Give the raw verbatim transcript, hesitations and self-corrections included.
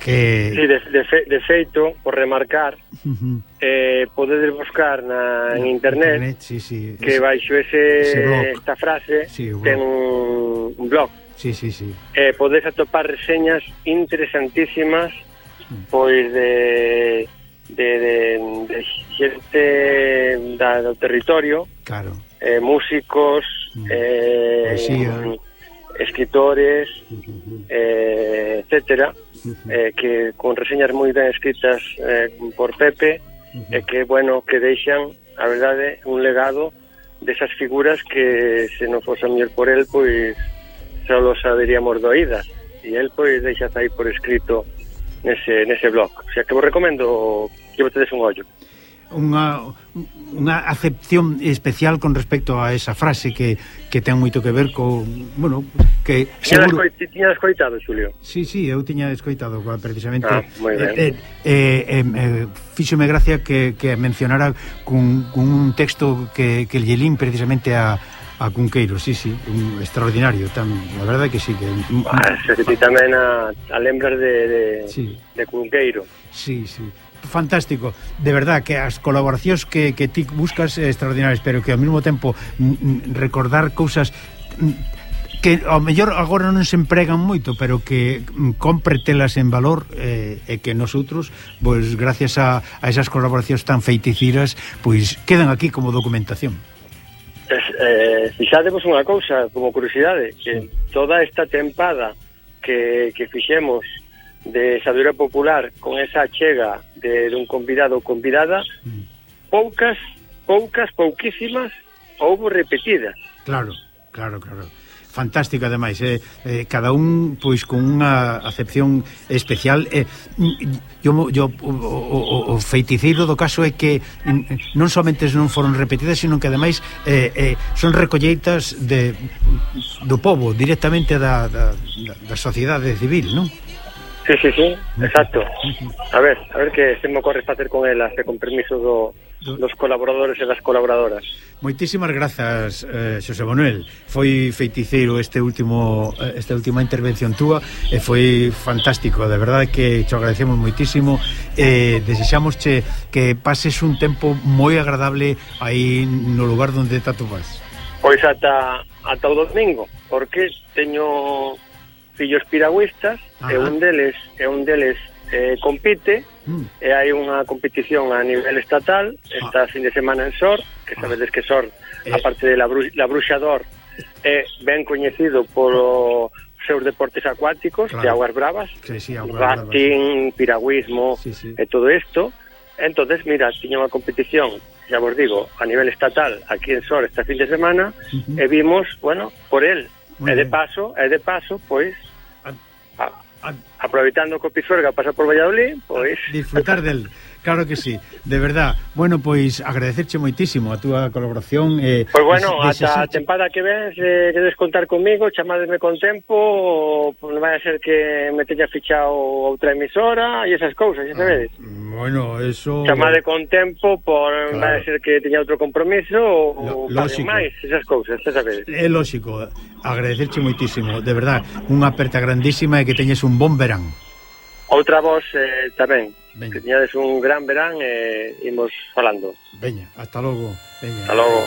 que... Sí, de, de, fe, de feito, por remarcar, uh-huh. eh, podedes buscar na, en internet, internet sí, sí, que ese, baixo ese, ese esta frase sí, ten un, un blog. Sí, sí, sí. Eh, podes atopar reseñas interesantísimas, uh-huh. pois de de, de, de xente da, do territorio, claro. eh, músicos, uh-huh. eh, poesía, escritores, uh-huh. eh, etcétera, uh-huh. eh, que con reseñas moi ben escritas eh, por Pepe, uh-huh. e eh, que, bueno, que deixan, a verdade, un legado desas figuras que, se non fose mellor por el, pois só lo saberíamos do oídas, e el, pois, deixa aí por escrito nese, nese blog. O sea, que vos recomendo que botedes un ollo. Unha, unha acepción especial con respecto a esa frase que, que ten moito que ver con, bueno, que seguro... Tiña escoitado, Xulio? Sí, sí, eu tiña escoitado precisamente. Ah, moi ben. Eh, eh, eh, eh, fíxome gracia que, que mencionara con, con un texto que, que lle lín precisamente a a Cunqueiro, sí, sí, un extraordinario tan, a verdade que sí que... Ah, se ti tamén a, a lembras de, de, sí. de Cunqueiro. Sí, sí, fantástico, de verdad que as colaboracións que, que ti buscas é extraordinarias, pero que ao mesmo tempo m, m, recordar cousas que ao mellor agora non se empregan moito, pero que m, compre telas en valor, eh, e que nosotros, pois gracias a, a esas colaboracións tan feiticiras, pois quedan aquí como documentación. Eh, fixadevos unha cousa como curiosidade, que toda esta tempada que, que fixemos de Sabedoria Popular con esa chega de, de un convidado ou convidada, mm. poucas, poucas, pouquísimas houbo repetidas. Claro, claro, claro. Fantástico, ademais, eh, eh, cada un pois con unha acepción especial. eh, yo, yo, o, o, o feiticeiro do caso é que non somente non foron repetidas, sino que ademais eh, eh, son recolleitas de, do povo, directamente da, da, da sociedade civil, non? Sí, sí, sí, exacto. A ver, a ver que se me ocorre facer con elas, e con permiso do, dos colaboradores e das colaboradoras. Moitísimas grazas, eh, Xosé Manuel. Foi feiticeiro este último esta última intervención túa e foi fantástico, de verdade que te agradecemos moitísimo e eh, desexamosche que pases un tempo moi agradable aí no lugar onde te atopás. Pois ata, ata o domingo, porque teño fillos piragüistas. Ajá. e un deles e un deles eh, compite mm. e hai unha competición a nivel estatal esta ah. fin de semana en Sor, que sabedes que Sor, eh. aparte de la, bru la Bruxador, é ben coñecido polo seus deportes acuáticos, claro. de aguas bravas, sí, sí, aguas rafting, bravas. Piragüismo, sí, sí. e todo isto. Entonces, mira, tiña unha competición, xa vos digo, a nivel estatal aquí en Sor esta fin de semana, uh -huh. e vimos, bueno, por el. Muy e de bien. paso, e de paso, pois, a, a, aproveitando que o Pisuerga pasa por Valladolid, pois disfrutar del, claro que sí, de verdad. Bueno, pois agradecerche moitísimo a túa colaboración. Eh, pois bueno, des, ata a tempada que ves, eh, queres contar comigo, chamadesme con tempo, ou non vai a ser que me teña fichado outra emisora e esas cousas, xa sabedes. Ah, bueno, eso... Chamade con tempo, por claro. vai a ser que teña outro compromiso ou paguen máis, esas cousas, xa sabedes. É lógico, agradecerche moitísimo, de verdad, unha aperta grandísima e que teñes un bon verán. Outra voz eh, tamén. Veña. Que teñades un gran verán e imos falando. Veña, hasta logo. Veña. Hasta logo.